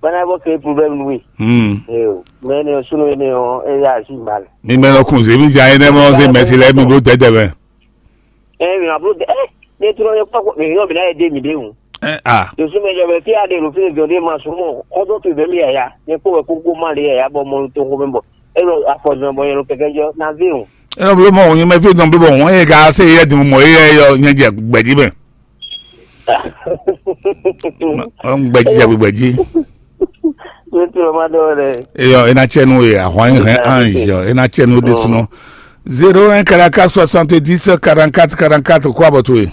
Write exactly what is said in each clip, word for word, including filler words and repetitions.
Bana bɔ ke problème nú we. Hmm. Ee o, mɛ ne ɔ sunu ne ɔ e ya asi mal. Mi mɛ lɔ kun zemi ja ene mɔ se mɛsi lɛ mi blo tɛtɛ mɛ. Ee mi ma blo de ee ne trɔ ne kpɔ ko mi yɔ mi na ye de mi de o. Eh, ah. Dosu mɛ jɔ bɛ fi ade lo fi ne jɔ de ma sunu mɔ kɔdɔ to bɛ mi yaya ne kpɔ bɛ koko ma de yaya bɔ mɔ to ko mɛ bɔ e lo afɔ jɔ bɔ ye lo kɛkɛ jɔ na vi o. Eno blo mɔ ŋun mɛ fi dɔn blo bɔ ŋun e ka se yɛ dun mɔ e yɛ yɔ nyɛ jɛ gbɛji mɛ. Gbɛji jɛ gbɛji. Eyɔ ena tsɛ nu ye ahwan yi hɛn ange ena tsɛ nu de sunɔ. Zéro un quarante-quatre soixante-dix quarante-quatre quarante-quatre kó abɔ to ye.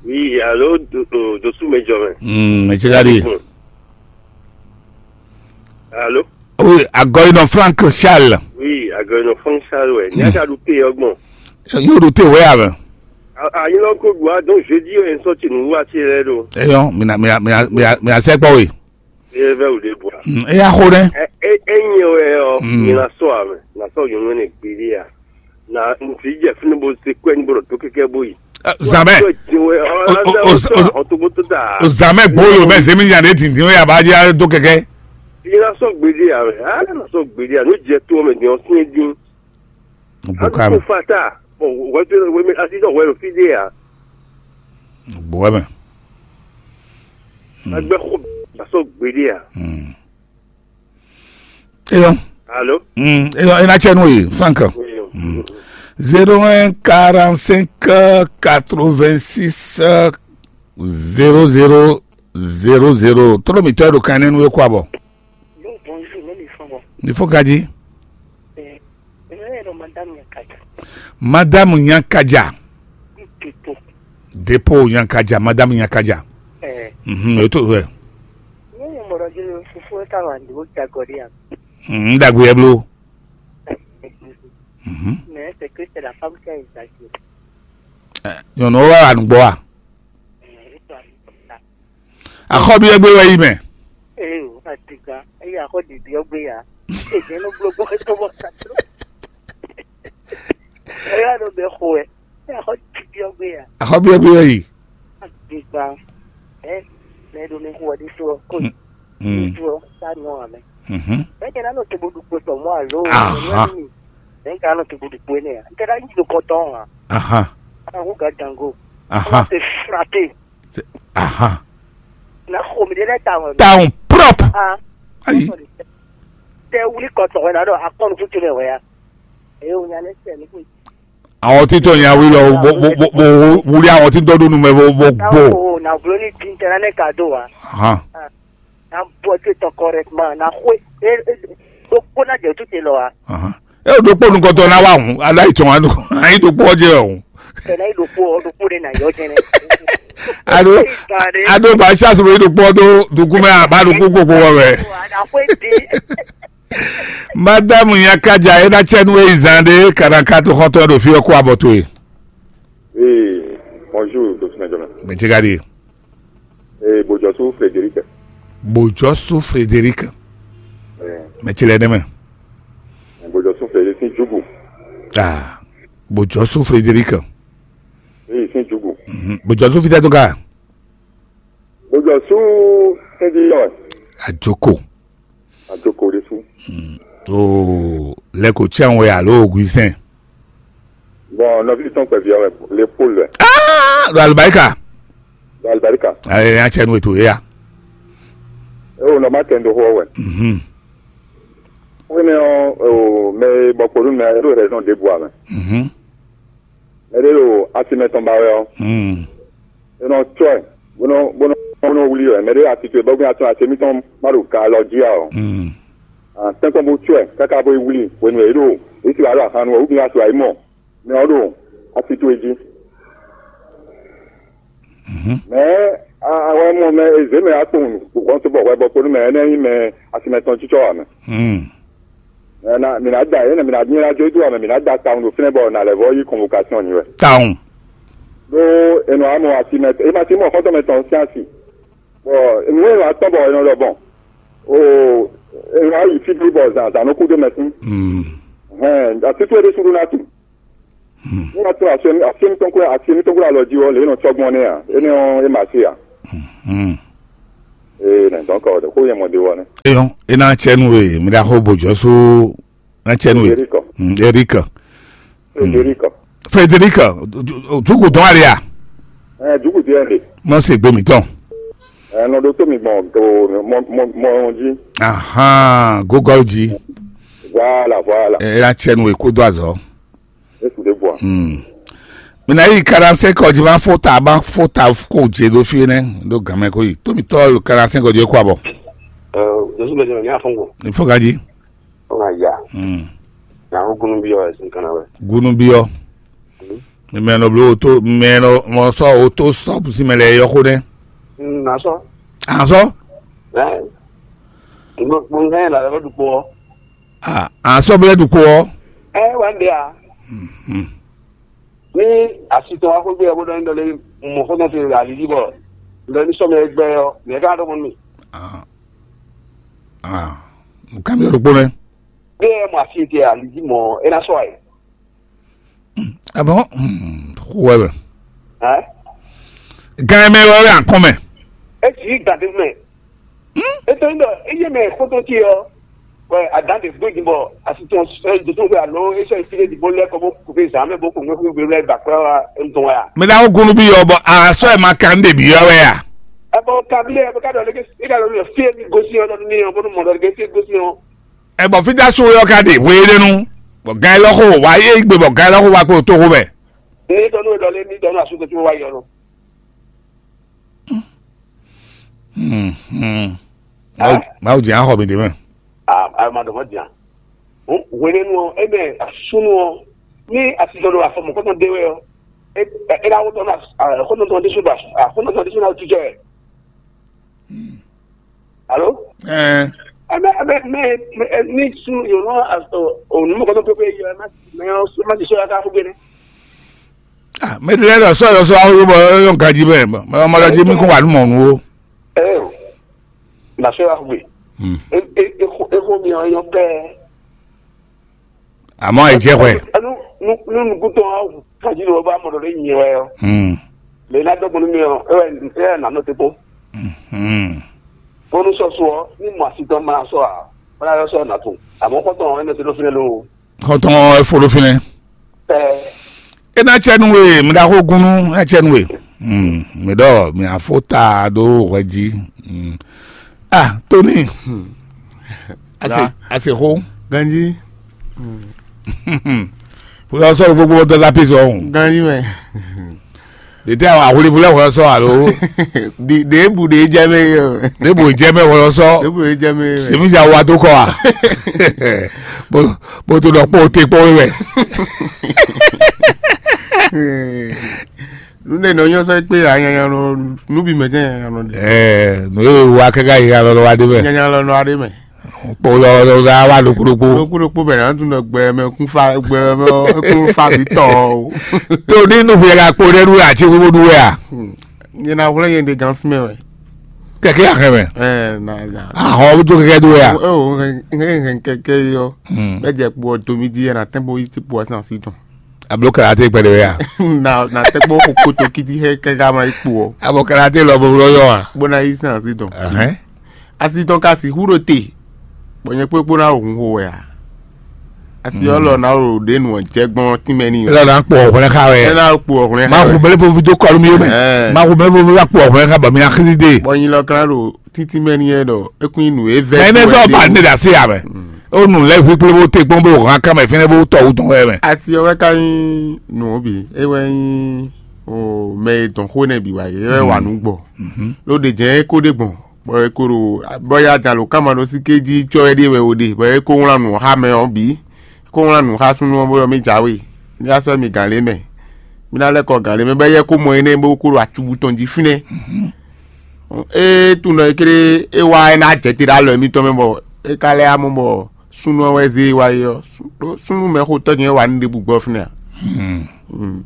Oui, allô, do, do, dosu mɛ jɔ mɛ. Hmm, mɛ tse ka di. Allô. Oui, agɔyinɔ Frank Charles. Oui, agɔyinɔ Frank Charles wɛ. Ní a ka ɖu te ɔgbɔn. Yóò ɖo te wɛ a mɛ. Ayi lɔ ko ɖu a donc jeudi wɛ nsɔ tsi nu wa tsi lɛ ɖo. Eyɔ mina mina mina mina mina sɛ kpɔ we. Eye vɛ wò ɖe bua. Eya xo ɖe. Enyi wɛ ɔ, mi na sɔ a mɛ, na sɔ yɔnɔ ne gbeɖe a. Na ŋutsu jɛ fínú bó se kɔɛ ní bó ɖo tó kɛkɛ bó yi. Zamɛ. O zamɛ gbolo mɛ zemi nya ɖe dindin ya ba dzi a do kɛkɛ. Yi na sɔ gbeɖe a mɛ, a na sɔ gbeɖe a, no jɛ to mɛ din ɔ sin din. Gbɔ ka mɛ. Fata. Bon, wɛ to wɛ mi asi sɔ wɛ lo fi de a. Gbɔ wɛ mɛ. Agbɛ xɔ ba sɔ gbeɖe a. Eyɔ. Allô. Eyɔ ena tsɛ nu ye Frank. Zéro un quarante-cinq quatre-vingt-six zéro zéro zéro zéro. Tɔlɔ mi tɔ ɖo kan ne nu ye kɔ abɔ. Bonjour, mɛ mi fɔn bɔ. Ni fo kaji. Ɛ ɛ ɛ madame Nyakaja. Madame Nyakaja. Depo. Depo Nyakaja, madame Nyakaja. Ɛ. Mhm, e to wɛ. Ne ye mɔrɔ jini fufo e ka wa ndi o jagɔ de ya. Mhm, dagbe yɛ blo. Mhm. Mais c'est que c'est la femme qui a exagéré. Ɛ, nyɔnu wa wa nugbɔ wa. Axɔ́ byɔ́ gbé wɛ yi mɛ. Ee o, atigba, eye axɔ ɖiɖi ɔgbe ya. Ejɛ nɔ gblɔ gbɔ kɛtɔ bɔ kato. Eya ɖo bɛ xɔ ɛ. Eye axɔ ɖiɖi ɔgbe ya. Axɔ́ byɔ́ gbé wɛ yi. Atigba, ɛ, mɛ ɖo mi xɔ ɖi to ko. Mm. To sa nyɔ amɛ. Mhm. Mɛ kɛ na nɔ to bo ɖukpo tɔ mɔ alo. Aha. Mɛ ka nɔ to bo ɖukpo ne. N kɛ na yi do kɔtɔ ha. Aha. Ana ko ga dango. Aha. Se ahan. Na xo mi ɖe lɛ tawun. Tawun prɔp. Ah. Ayi. Tɛ wuli kɔtɔn wɛ na ɖɔ akɔnu kutu lɛ wɛ ya. Eye o nya lɛ sɛ ni ko. Àwọn títọ́ yẹn awí lọ bó bó bó bó wúlí àwọn títọ́ dó numɛ bó bó gbó. Táwọn kò na wúlò ní dín tẹ́lá ní ká dó wa. Ahan. Na bɔ tó tɔ correctement na xwe. E e do kpó na jɛ tó te lɔ wa. Ahan. E o do kpó nukɔtɔ na wa hun ala itɔn wa do ayi do kpó ɔjɛ o. Tɛnɛ yi ɖokpó ɔ ɖokpó ɖe na yɔ jɛnɛ. Ado ado ba chance bo ɖokpó do dukumɛ aba ɖokpó gbogbo wɔ mɛ. Aɖaxwe di. Madame Nyakaja e na tsɛ nu eyi zan ɖe kana katu xɔtɔ ɖo fi ɔkɔ abɔ to ye. Ee, bonjour, Dr. Benjamin. Mɛ ti ka di. Ee, Bojɔsu Frederic. Bojɔsu Frederic. Ee. Mɛ ti lɛ ne mɛ. Bojɔsu Frederic sin Jugu. Ah, Bojɔsu Frederic. Ee, sin Jugu. Mhm. Bojɔsu fitɛ to ka. Bojɔsu Frederic. Ajoko. Ajoko ɖésú. Mm. To lɛko tsɛn wɛ alo oguisɛn. Bon, nɔvi tɔn kpɛvi ɔwɛ le Paul wɛ. Ah, do alibarika. Do alibarika. Ayi ya tsɛ nu eto ya. E o nɔ ma tɛ ndo xɔ wɛ. Mhm. Wene ɔ o mɛ bɔ kpolu mɛ e ɖo raison de bua mɛ. Mhm. Mɛ ɖe ɖo asi mɛ tɔn ba wɛ ɔ. Mm. E nɔ tsɔ ɛ bó nɔ bó nɔ bó nɔ wuli wɛ mɛ ɖe asi to ɛ bɔ gbɛn atún asi mitɔn ma ɖo ga alɔ jí a ɔ. Mm. Ah, tɛnkpɔn bó tsɔ ɛ káká bó yi wuli hwenu e ɖo esi wà ɖo ahanu wɛ wúbi asu ayi mɔ mɛ ɔ ɖo asi to e jí. Mhm. Mɛ awɛ mɔ mɛ ezé mɛ akpɔn gbɔn tó bɔ hwɛ bɔ kponu mɛ ɛnɛ nyi mɛ asimɛ tɔn tsitsɔ wà mɛ. Mm. Mɛ na mi na da yɛ mi na nyɛ na jó do wà mɛ mi na da tawun ɖo fínɛ bɔ na lɛ vɔ yi convocation ni wɛ. Tawun. Ɖó enɔ amɔ asimɛ e ma ti mɔ xɔtɔ mɛ tɔn sín asi. Bɔ enu e wa tɔn bɔ enɔ ɖɔ bɔn o e wa yi fi blu bɔ zan zan nɔ kú ɖó mɛ sín. Mm. Hɛn atutu e ɖésú ɖó ná tu. Mm. Ní wàá tún àṣẹ àṣẹ mi tɔn kúrò àṣẹ mi tɔn kúrò alɔ jí wɔ lè nɔ tsɔgbọn ní à éní ɔ é mà sí à. Mm. Ee, nɛ dɔn kɔ de xó yɛ mɔ de wɔ nɛ. Eyɔn, e na tsɛ nu e mi da xo bo jɔ so na tsɛ nu e. Frederico. Mm, Eric. Frederico. Frederic, dugu dɔn ali a? Ɛ, dugu diɛ de. Mɔ se gbe mi tɔn. Ɛ, nɔ ɖo tó mi gbɔn to mɔ mɔ mɔ jí. Ahan, gogol ji. Voilà, voilà. E na tsɛ nu e ko do azɔ. Efu ɖe bua. Hmm. Mi na yi karanse kɔ ji ma fota ma fota ko je ɖo fi nɛ ɖo gamɛ ko yi. Tomi tɔ lo karanse kɔ ji ko abɔ. Jesu bɛ jɛmɛ ní afɔngo. Ifo ka ji. Ɔn ya. Hmm. Na ko gunu bi ɔ ɛsìn kan na wɛ. Gunu bi ɔ. Mi mɛ nɔ blo oto mɛ nɔ mɔ sɔ oto stop si mɛ lɛ yɔ ko nɛ. Na sɔ. Azɔ. Ɛ. Mo mo ŋa yɛ la lɛ du kpɔ. Ah, asɔ́ bɛ́ ɖu kpo ɔ́. Ɛ wá ń ɖe a? Mhm. Ní asitɔn wá xwé gbé ɔ́ bó ɖɔ ní ɖɔ lé mɔ xɔ́ntɔn ce alǐlí bɔ ɖɔ ní sɔ́ mɛ gbɛ ɔ́, mɛ ká ɖɔ mɔ nú mì. Ah, ah, nǔkan mi ɖokpó nɛ́. Bí ɛ mɔ asi ce alǐlí mɔ é ná sɔ́ ɛ. Abɔn, xó wɛ mɛ. Ɛ? Gan mɛ wɛ wɛ akɔn mɛ. É sì í gàdé mɛ. É tó ń ɖɔ é yé mɛ xótó ce ɔ́, wɛ adǎn ɖě gbó din bɔ asi tɔn sɔ́ yi dǒtó xwé alo é sɔ́ yi fí ɖé ɖi bó lɛ́ kɔ bó kú fí zǎn mɛ bó kú ŋwé xwé gbé lɛ́ ba kplá wá é tɔn wɛ a? Mɛ ɖaxó gúnú bí ɔ́ bɔ asɔ́ ɛ ma kan ɖe bǐ ɔ́ wɛ a? Ɛ bɔ kabilé ɛ bɔ ká ɖɔ lé é ká ɖɔ lé fí é mi gosín ɔ́ ɖɔ nú mì ɔ́ bónú mɔ ɖɔ lé fí é gosín ɔ́. Ɛ bɔ fíjá so yɔ ka ɖe hwe éɖé nu, bɔ gan élɔ́ xo wá yé gbe bɔ gan élɔ́ xo wá kpo tó xo mɛ. Ní tɔ́ nú é ɖɔ lé ní tɔ́ nú asúkútú wá yi ɔ́ nɔ. Mawu jɛ axɔ mi ɖe mɛ. A ma ɖɔ mɔ dian. Hwenɛnu ɔ́, é mɛ súnnu ɔ́, ní asijɔ ɖo afɔ mɔ̌kɔtɔn ɖé wɛ ɔ́, é ná wótɔ ná xɔnɔtɔn ɖésú ɖo xɔnɔtɔn ɖésú ná jijɔ ɛ. Alo? Ɛɛ. Ɛmɛ ɛmɛ mɛ ní súnnu yǒnú onú mɔ̌kɔtɔn pépé yɔ ɛ má ti sɔ́ yá ká fúgbé nɛ́. Ah, mɛ ɖe lɛ́ɛ ɖɔ sɔ́ yɔ sɔ́ awo bɔ é nyɔ́ ganjí mɛ, mɛ ɔ́ mɔ ɖɔ jí mí kún wa nú mɔ̌ nú ó. Ɛ na sɔ́ yá fúgbé. Hmm. É é é xó é xó mi ɔ́ nyɔ́ pɛ́. Àmọ́ ẹ jẹ́ hwɛ. Ẹnu nu nu nukúntɔn ɔ́ kájí ló bá mɔ ɖɔ ɖé nyɛ wɛ ɔ́. Hmm. Lè ná dɔgbɔn nú mi ɔ́, é wɛ é wɛ nà nɔ te kpó. Hmm. Bónú sɔ́ sú ɔ́, ní mɔ asi tɔn ma sɔ́ ǎ, bó ná yɔ sɔ́ nà tún. Àmọ́ kɔ́tɔn ɔ́, é nɔ te ɖó fínɛ́ lóo. Kɔntɔn ɛ fo ɖo fínɛ́. Ɛ. E ná tsɛ nú we mi ɖaxó gúnú, e ná tsɛ nú we. Hmm, mi ɖɔ mi afó ta ɖó hwɛ jí. Hmm. Ah, Tony. Ase ase xó. Ganji. Fúnra sɔ̀rọ̀ gbogbo dọ́sà pèsè ọ̀hún. Ganji mɛ. Dètè àwọn àwòlífúnlẹ̀ wọ́n sọ àlọ́. Dèébù dèé jẹ́ mẹ́ yọ. Dèébù jẹ́ mẹ́ wọ́n sọ. Dèébù dèé jẹ́ mẹ́ yọ. Sèmi jà wà tó kọ́ wa. Bó tó lọ pọ̀ tẹ pọ̀ wẹ̀. Nune nɔ nyɔ sɛ kpe ya nyanya nɔ nubi mɛ tɛ nyanya nɔ de. Ɛɛ, nù yóò wá kɛkɛ yi alɔ lɔ wa dé mɛ. Nyanya lɔ nɔ adé mɛ. Kpɔ lɔ lɔ la wa ɖokpo ɖokpo. Ɖokpo ɖokpo bɛ na tun ɖɔ gbɛ mɛ kún fa gbɛ mɛ kún fa bi tɔ o. Tó ní nù fìyà ka kpo ɖe ɖu àti wíwú ɖu wɛ a? Nyɛ na wlɛ nyɛ ɖe gan sinmɛ wɛ. Kɛkɛ ahɛ mɛ. Ɛɛ na na. Ahɔ wútu kɛkɛ ɖu wɛ a? Ɛɛ o hɛn hɛn kɛkɛ yɔ. Bɛ jɛ kpo ɔ domi di yɛ na tɛn bo yi ti kpo ɔ sinasi tɔn. Ablo karate kpɛɖe wɛ a? Na na tɛkpɔ xo koto kiti xɛ kɛga ma yi kpo ɔ. Abo karate lɔ bɔbɔ yɔ a? Bó ná yí sín asi tɔn. Ɛhɛn. Asi tɔn ka sixú ɖo te, bɔ nyɛ kpékpó ná hun xo wɛ a? Asi ɔ́ lɔ ná ɖo ɖě nu ɔ́ jɛ gbɔn tínmɛ n'i. Elɔ na kpɔ ɔ̀hún lɛ xa wɛ. Ɛ ná kpo ɔ̀hún lɛ. Ma hu mɛlɛ fo fi dó kɔlu mi yó mɛ. Ɛɛ. Ma hu mɛlɛ fo fi wá kpo ɔ̀hún lɛ xa bɔ mi ná xísí dé. Bɔ nyi lɔ kan ɖo títí mɛ n'i yɛ ɖɔ é kún nyi nǔ e vɛ. Mɛ ne sɔ ba ne da se ya mɛ. O nù lɛ hu kple bó te kpɔn bó hàn kama fɛnɛ bó tɔ wú tɔn wɛ mɛ. Ati ɔ́ wɛ ka nyí nǔ ɔ́ bǐ, é wɛ nyí o mɛ e dɔn xó nɛ bǐ wá é wɛ wà nú gbɔ. Ló ɖe jɛ́n é kó ɖe gbɔn, bɔ é kó ɖo bɔ ya jan lǒ kama ɖó sí ké jí cɔ́ wɛ ɖíe wɛ o ɖe, bɔ é kó wlán nǔ xá mɛ ɔ́ bǐ, é kó wlán nǔ xá súnnu ɔ́ bó ɖɔ mì jǎwe, mì wá sɛ́ mì gǎn lě mɛ, mì ná lɛ́ kɔ gǎn lě mɛ, bɔ é yɛ kó mɔ énɛ́ bó kó ɖo acubu tɔn jí fínɛ́. Ée tunɔ e kéré é wá é ná jɛ te ɖo alɔ émítɔn mɛ bɔ é ka lɛ́ amɔ bɔ súnnu ɔ́ wɛ zé e wá é ɔ́, sú- ɖó súnnu mɛxotɔ́ nyɛ wá ní ɖěbǔ gbɔ fínɛ́ ǎ.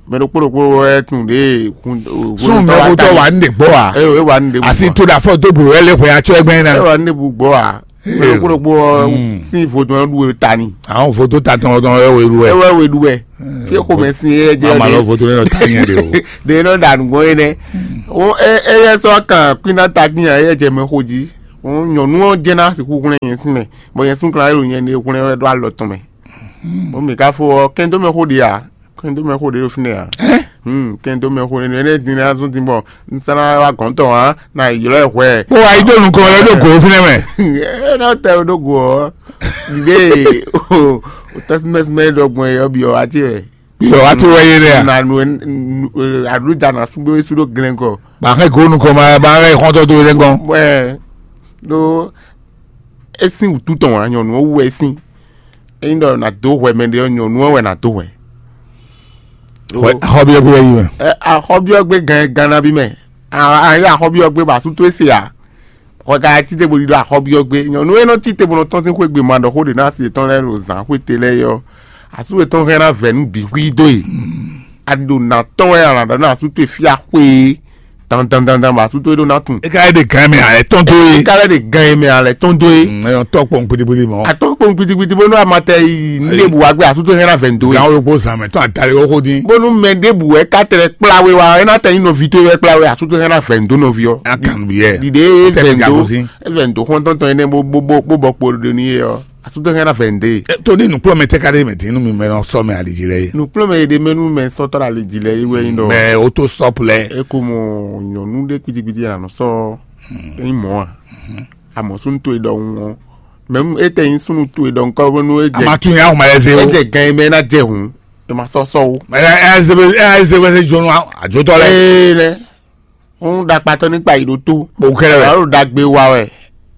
Mɛ ɖokpó ɖokpó wɛ tunwun ɖě hun- hun- Súnnu mɛxotɔ́ wá ní ɖe gbɔ a? Eye é wá ní ɖěbǔ asi gbɔ. To ɖe afɔ dó blo wɛ lé hwɛ atsɔ ẹgbẹ́ ná. É wá ní ɖěbǔ gbɔ ǎ. Kpóɖokpó ɔ́ sín vodún ɔ́ ɖu ta ni. Àwọn vodún ta tɔn tɔn ɛ wɛ lu ɛ. Ewɛ we ɖu wɛ. Fi xomɛ sin yɛ jɛ. Ama lɔ vodún nɔ ta nyɛ de o. De nɔ da nùgbɔn yɛ nɛ. O e e yɛ sɔ kan kwina ta din yɛ jɛ mɛ xo jí. O nyɔnu ɔ́ jɛ na si kúkúnɛ yɛn sin mɛ. Bɔ yɛn sun kan yɛ lo nyɛ ne kúnɛ wɛ ɖo alɔ tɔn mɛ. O mi ka fo ɔ kɛn dó mɛ xo ɖi a? Kɛn dó mɛ xo ɖi ɖo fínɛ́ a? Kɛn dó mɛ xo ɖi ɖo fínɛ́ a? Kɛn dó mɛ xo ɖi ɖo fínɛ́ a? Kó wá yí dó nukɔn lɛ́ ɖo gǒ fínɛ́ mɛ. Ɛ nɔ tɛ ɖó go ɔ́, ɖiɖe o tɛsímɛsímɛ ɖɔgbɔn yɛ ɔ́ byɔ wá ce wɛ. Byɔ wá ce wɛ yé lɛ a? Na nu aɖúdza na súgbó sú ɖó glɛ́n kɔ. Ba xɛ gǒ nukɔn ma ba xɛ xɔntɔ dó lɛ gɔn. Wɛ ɖó é sín wǔtu tɔn wá nyɔnu ɔ́ wú wɛ é sín. Ényí ɖɔ nǎ dó hwɛ mɛ ɖé ɔ́, nyɔ̌nu ɔ́ wɛ nǎ dó hwɛ. Axɔ́byɔ́ gbé wɛ yi mɛ. Axɔ́byɔ́ gbé gan gan ná bí mɛ. Ayé axɔ́byɔ́ gbé bɔ asú towe se ǎ. Hwɛ ka cí te bo ɖi ɖo axɔ́byɔ́ gbé. Nyɔ̌nu e nɔ cí te bo nɔ tɔ́n sín xwé gbe ma ɖɔ xó ɖě ná asi yětɔn lɛ́ɛ ɖo zǎn xwé te lɛ́ɛ é ɔ́, asú yětɔn hɛn ná vɛ̌ nú bǐ xwí dó e. A ɖi ɖo nǎ tɔn wɛ a nǎ ɖɔ ná asú towe fí axwé é. Dandandandan bɔ asú towe ɖó ná tunwun. E ka lɛ́ ɖe gǎn mɛ alɛ tɔn dó e. E ka lɛ́ ɖe gǎn mɛ alɛ tɔn dó e. Ɛyɔ tɔ kpɔn kpitikpiti mɔ. Atɔ kpɔn kpitikpiti bónú a ma tɛ yi níɖe bu wá gbé asú towe hɛn ná vɛn dó e. Gǎn wo gbó zan mɛ tɔn adali wo xó dín. Bónú mɛ ɖěbǔ wɛ ka tɛ kplá we wá, é ná tɛ nyí nɔví towe wɛ kplá we asú towe hɛn ná vɛn dó nɔví ɔ́. A kan bi yɛ. Ɖiɖe e vɛn dó e vɛn dó xɔntɔntɔn énɛ́ bó bó bó bó bɔ kpo ɖo ní e ɔ́. Asútɔ́ hɛn ná vɛ̌ ndé. Tó ní nǔkplɔ́nmɛ tɛ́ ka ɖé mɛ dín nú mi mɛ nɔ sɔ́ mɛ ali jí lɛ́ɛ é? Nǔkplɔ́nmɛ e ɖe mɛ nú mɛ sɔ́tɔ́ ali jí lɛ́ɛ é wɛ nyí ɖɔ. Mɛ ó tó stɔ́p lɛ́ɛ. É ko mɔ nyɔ̌nu ɖé kpitíkpití a nɔ sɔ́ é nyí mɔ̌ a? Amɔ̌ súnnu towe ɖɔhun ɔ́, mɛ é tɛ nyí súnnu towe ɖɔhun kɔ́ bónú é jɛ. Ama tún yà hùn mɛ lɛ́ zé é o. Jɛ gan e mɛ é ná jɛ hǔn, é ma sɔ́ sɔ́ ó. Mɛ ɛ ɛ zé bɛ ɛ ɛ zé bɛ zé jónú àjòtɔ lɛ. Ee nɛ. Ń ɖakpatɔ ní kpa yi ɖó tó. Kpowun kɛ́ɖɛ́ wɛ. Alo ɖagbe wa wɛ,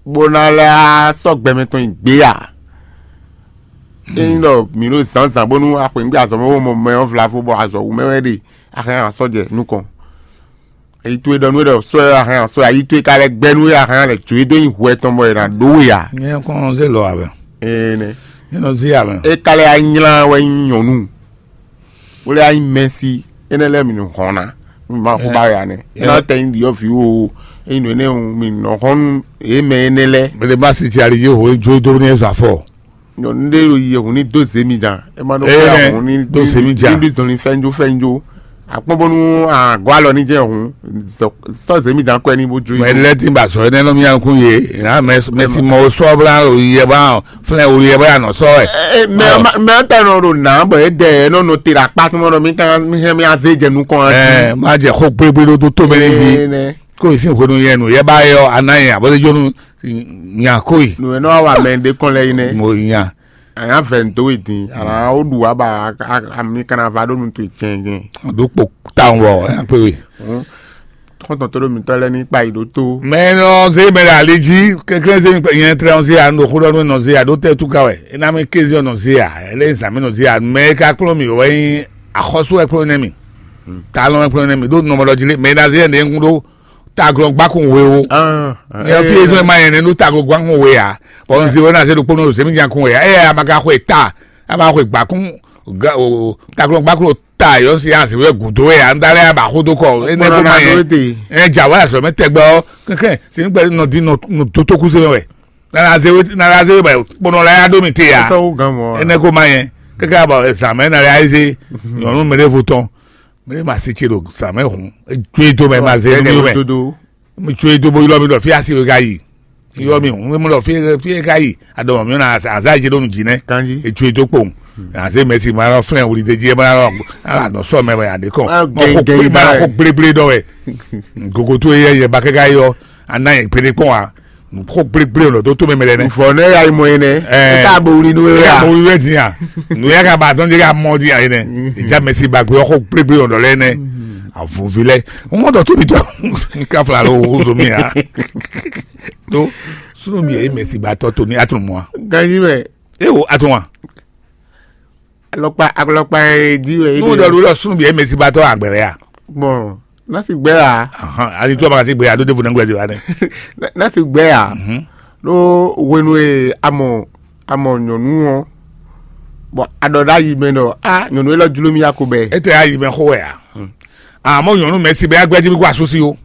bó ná lɛ́ á sɔ́ gbɛmɛ tɔn yi gbé a? Ényí ɖɔ mǐ ɖo zǎnzǎn bónú axwěngbé azɔ̌ mɛ bó mɔ mɛ ɔ́ vlavo bɔ azɔ̌ wú mɛ wɛ ɖe, a hɛn a sɔ́ jɛ nukɔn. Ayi towe ɖɔ nú we ɖɔ sɔ́ ɛ a hɛn a sɔ́ ɛ, ayi towe ka lɛ́ gbɛ́ nú we a hɛn a lɛ́ jó e dó nyi hwɛ tɔn bɔ è nǎ ɖó we a? Nyɛ kɔn zé lɔ abɛ. Ee nɛ. Nyɛ nɔ zé abɛ. É ka lɛ́ anyla wɛ nyí nyɔ̌nu. Wó lɛ́ wá nyí Mɛsi, énɛ́ lɛ́ɛ mì nɔ hɔn ná, nú mǐ ma xú ba wɛ ǎ nɛ́. É ná tɛ nyí ɖyɔ̌vǐ o, é nyí nǔ énɛ́ o, mì nɔ hɔn nú yě mɛ énɛ́ lɛ́ɛ. Mɛ ɖé ma si jɛ ali yě hǒ jó dó ní zɔ afɔ. Nyɔ̌nu ɖé ɖo yi hǔn ní dó zě mi jan, é ma ɖó Ee, xwé nɛ, hǔn ní dó zě mi jan. Ní zɔn ní fɛ́njó fɛ́njó. Akpɔ́n bónú agɔ́ alɔ ní jɛ hǔn, sɔ́ zě mi jan kɔ́ ɛ ní bó jó. Mɛ lɛ́ tí ba sɔ énɛ́ nɔ mì nukún yě, mɛ mɛ si mɔ sɔ́ bla o yɛ ba flɛ́n o yɛ ba nɔ sɔ́ wɛ. Mɛ mɛ ta nɔ ɖo nǎ bɔ é dɛ é nɔ nɔ te ɖo akpá tɔn ɖɔ mí kan mí hɛn mí azé jɛ nukɔn ɛ. Ɛ má jɛ xó gblégblé ɖó tó mɛ ní jí. Kó yě sín hwenu yɛ nǔ yɛ ba yɔ aná yɛ abɔ́ jó nú nya kó yi. Nǔ e nɔ wa mɛ ɖé kɔn lɛ yi nɛ. Mo nya. Anya vɛ ndo yi din, ala o ɖu wa ba ami kana va ɖo nu to cɛn cɛn. Ɖo kpo tawun wɔ ya kpe we. Xɔntɔn to ɖo mitɔ lɛ ní kpa yi ɖo to. Mɛ nɔ zé mɛ ɖe ali jí, kékeré zé mi nyɛ trɛ nɔ zé ya, nɔ xó ɖɔ nɔ zé ya, ɖo tɛ tu ka wɛ. Ena mi kézi nɔ zé ya, ele zan mi nɔ zé ya, mɛ ka kplɔn mi wɛ nyi axɔsu wɛ kplɔn nɛ mi. Talɔn wɛ kplɔn nɛ mi, ɖo nɔmɔ ɖɔ jí lé, mɛ na zé yɛ ne ŋu ɖo taglɔn gbakun we o. Nyɛ fi ezɔn ma yɛ ne ɖo taglɔn gbakun we ya. Bɔn nzi wɛ na zé ɖo kpɔnɔ zé mi jan kun we ya. Eya ma ka xwe ta, a ma xwe gbakun taglɔn gbakun ta yɔ si ya zé wɛ gudo we ya. N da lɛ ya ba xo do kɔ. Ene ko ma yɛ. Ɛ ja wa azɔ mɛ tɛgbɛ ɔ kɛkɛ si n gbɛ nɔ di nɔ dotoku se mɛ wɛ. Nana zé we nana zé we bɛ kpɔnɔ la ya ɖo mi te ya. Ene ko ma yɛ kɛkɛ abɔ zan mɛ na ya zé nyɔnu mɛ ɖevo tɔn. Mɛ ɖe ma si tse ɖo zan mɛ hun. Edzo edo mɛ ma zé nu mi mɛ. Mi tso edo bo ylɔ mi ɖɔ fi asi we ka yi. Ylɔ mi hun mi ɖɔ fi fi ka yi. Aɖɔ mi na aza yi ɖo nu dzi nɛ. Etso edo kpowun. Azé mɛ si ma lɔ flɛn wuli de dzi ma lɔ ala nɔ sɔ mɛ wɛ aɖe kɔ. Mɔ ko gble ma lɔ ko gble gble dɔ wɛ. Gogo to yɛ yɛ ba kɛka yɔ ana yɛ gbeɖe kpɔn wa. Xó gblégblé lɔ dó tó mɛ mɛ lɛ nɛ. Vɔ ne ya yi mɔ yi nɛ. Ɛɛ. E ka bo wuli nu ya. Mo wuli wɛ diya. Nu ya ka ba dɔn de ka mɔ diya yi nɛ. Ìjà mɛ si ba gbé ɔkɔ gblégblé lɔ lɛ nɛ. Avɔvi lɛ. Mo mɔ dɔ tó mi tɔ. Ka fla lo wo zo mi ya. Do sunu bi ye mɛ si ba tɔ to ni atun mɔ. Ganyi mɛ. E wo atun wa. Alɔkpa alɔkpa e di wɛ. N'o dɔ ɖo lɔ sunu bi ye mɛ si ba tɔ agbɛrɛ ya. Bɔn. Nasi gbɛ ya. Ahan, ali tó a ma ka si gbɛ ya ɖó ɖevo nɛgbɛ di wa nɛ. Nasi gbɛ ya. Ɖó hwenu e a mɔ a mɔ nyɔnu ɔ́, bɔn a ɖɔ ɖ'ayi mɛ ɖɔ a nyɔnu élɔ́ jló mì ya ko bɛ. E tɛ ayi mɛ xó wɛ a? Àmọ́ nyɔnu mɛ si bɛ agbɛji bí kó asúsí o.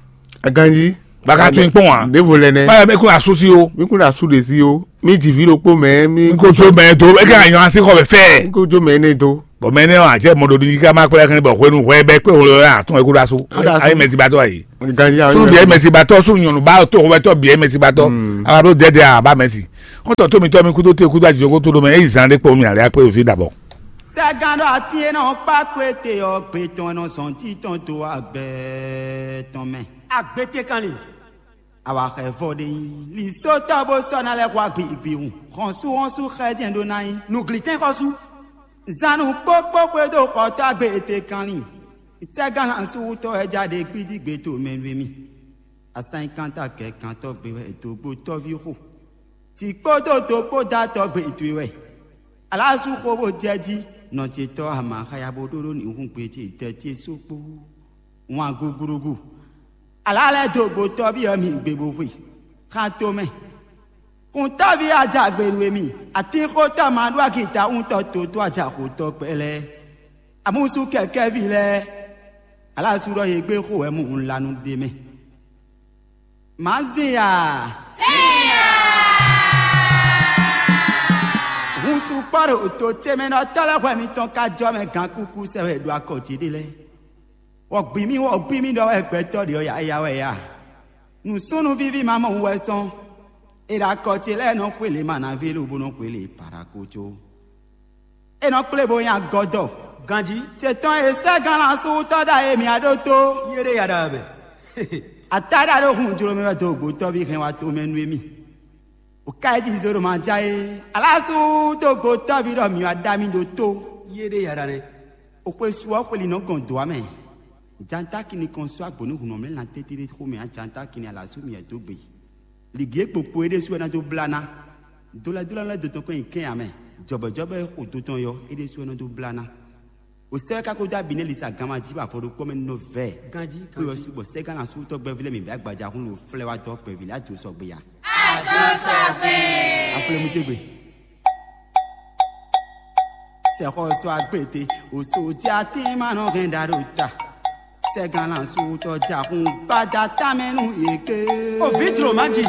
Aganji. Baka tún kpɔn wa. Ɖěvo lɛ nɛ. Báyọ̀ mi kún asú sí o. Mi kún asú ɖe sí o. Mi jì ví ɖokpó mɛ mi. Mi kó jó mɛ do. E ka yan sí xɔ bɛ fɛ. Mi kó jó mɛ ne do. Bɔn mɛ ne wa jɛ mɔɖo di ká má kpɛlɛ kɛnɛ bɔ hwenu hwɛ bɛ kpɛ wolo ya tún ekú ɖasu. Ayi mɛsi batɔ ayi. Ganji ayi. Sunu biɛ mɛsi batɔ, sunu nyɔnu ba to hwɛ tɔ biɛ mɛsi batɔ. Ala ɖo dɛdɛ a ba mɛsi. Kɔntɔ to mi tɔ mi kudo te kudo ajɔ ko to do mɛ eyi zan ɖe kpɔ mi ale akpɛ ofi dabɔ. Sɛgán ɖɔ atín e nɔ kpá kwete ɔ́ gbe tɔn nɔ zɔn tí tɔn to agbɛ tɔn mɛ. Agbete kanlin. Awa xɛ vɔ ɖe nyi. Li sótɔ bó sɔ́ ná lɛ́ hwa gbigbihun. Xɔnsúxɔnsú xɛ jɛ́n ɖó ná nyí. Nǔglítɛ́n xɔsú. Zanu kpókpó xwedó xɔtɔ́ agbe ete kanlin. Sɛgán asúwútɔ́ wɛ ja ɖe gbídígbe to mɛ nú émí. Asanyikanta kɛ kantɔ́ gbe wɛ dǒgbó tɔ́ví xo. Tǐ kpódó dó kpó dó atɔ́ gbe towe wɛ. Alású xó bó jɛ jí, nɔ ce tɔ́ ama xaya bó ɖó ɖó nǐhún gbe ce tɛ ce só kpó. Wǎn gúgúrúgú. Alá lɛ́ dó gbó tɔ́ví ɔ́ mi gbe bó xwe. Xán tomɛ. Kúntɔ́ví ajagbe nú émí. Atínxótɔ́ ma ɖó agita wúntɔ́ totó ajaxotɔ́ kpɛlɛ́. Amúsú kɛkɛ́ví lɛ́ɛ. Alású ɖɔ yě gbé xó wɛ mú un la nú ɖ'é mɛ. Mǎ zin a? Hun sukpɔ́ ɖo to ce mɛ nɔ tɔ́ lɛ́ hwɛ mitɔn ka jɔ mɛ gankúkú sɛ wɛ ɖo akɔ ce ɖé lɛ́ɛ. Wɔ̌gbí mì, wɔ̌gbí mì ɖɔ wɛ gbɛtɔ́ ɖě ɔ́ yáyá wɛ a? Nǔsúnnú víví ma mɔ wú wɛ sɔ́n. È ɖo akɔ ce lɛ́ɛ nɔ xwé lě manavé lobo nɔ xwé lě paɖako có. É nɔ kplé bó nyí agɔ́dɔ. Ganjí. Ce tɔn e sɛ́ gǎnlásúwútɔ́ ɖa e mǐ á ɖótó. Yé ɖé ya ɖa wɛ. Atáɖa ɖo hun jló mɛ wɛ dó gbǒtɔ́ví hɛn wá tomɛ nú émí. O ka yi jí zé ɖo ma ja é. Alású dó gbǒtɔ́ví ɖɔ mǐ wá ɖa mì ɖótó. Yé ɖé ya ɖa nɛ́. O xwe su ɔ́ xweli nɔ gɔn dǒ amɛ. Jantáki ní kɔn sú agbǒ ní hun nɔ mlɛ́ lan tɛ́ntin ɖé xomɛ ǎ. Jantáki ní alǎ sú mì wɛ dó gbe. Lǐgi e kpokpo é ɖésú wɛ ná dó blá ná. Dólɛ́dólɛ́ lɛ́ɛ dó tɔn kɔn nyi kɛ́n ǎ mɛ. Jɔbɛ̌jɔbɛ́ e xo do tɔn yɔ é ɖésú wɛ ná dó blá ná. O sɛ́ wɛ ka ko dó abǐ nɛ́ lisa ganma jí bɔ afɔ ɖokpó mɛ nɔ vɛ. Ganjí, xwe ɔ́ ganjí. Sú bɔ sɛ́gán asútɔ́ gbɛ́ví lɛ́ɛ mǐ bɛ́ agbaja hún lo flɛ́ wá dɔ́ kpɛví lɛ́ɛ ajo sɔgbe ya. Ajo sɔgbe. Aflɛ́mú ce gbe. Sɛxɔsɔ agbete, osodi atín ma nɔ hɛn ɖa ɖo ta. Sɛgán asútɔ́ ja hún gbada tamɛ nú yě gbé. O vǐ jlǒ má jì.